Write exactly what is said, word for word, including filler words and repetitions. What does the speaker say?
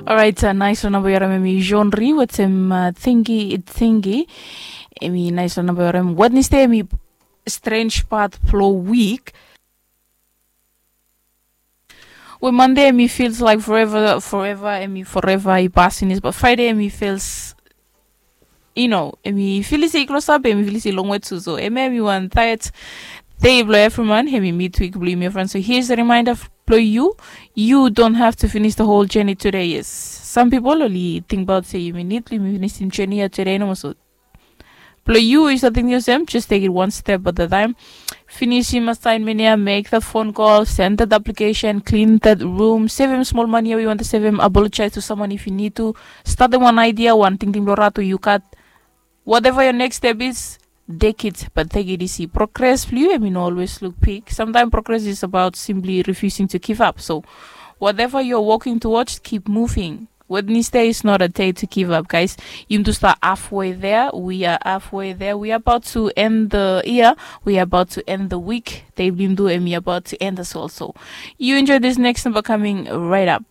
Orait, nais long namba yu harim em i John Ri wetem Tingi Tingi. Em i nais long namba yu harim Wednesday em i strange part blong wik. We Monday em i feels like forever, forever em i forever i pas finis, but Friday em i feels, you know, em i fili se i klosap, em i fili se i longwe tu. So em em i wan tired day blong every man, em i midweek blong yumi friends. So here's a reminder blong you, you don't have to finish the whole journey today. Yes, some people oli tingbaot se yumi nid blong yumi finisim journey ya today nomo. So blong yu, yu save tingting olsem, just take it one step at a time. Finisim assignment ya, make that phone call, send that application, clean that room, sevem smol mani ya we yu wantem sevem, apologize to someone if you need to, statem wan idea, wan tingting blong rat we yu gat. Whatever your next step is, take it, but take it easy. Progress blong yu em i no always look big. Sometimes progress is about simply refusing to give up. So whatever you're working towards, keep moving. Wednesday is not a day to give up, guys. Yumi tu stap halfway there. We are halfway there. We are about to end the year. We are about to end the week. Dei blong yumi tu em i about to end as well. So you enjoy this next number coming right up.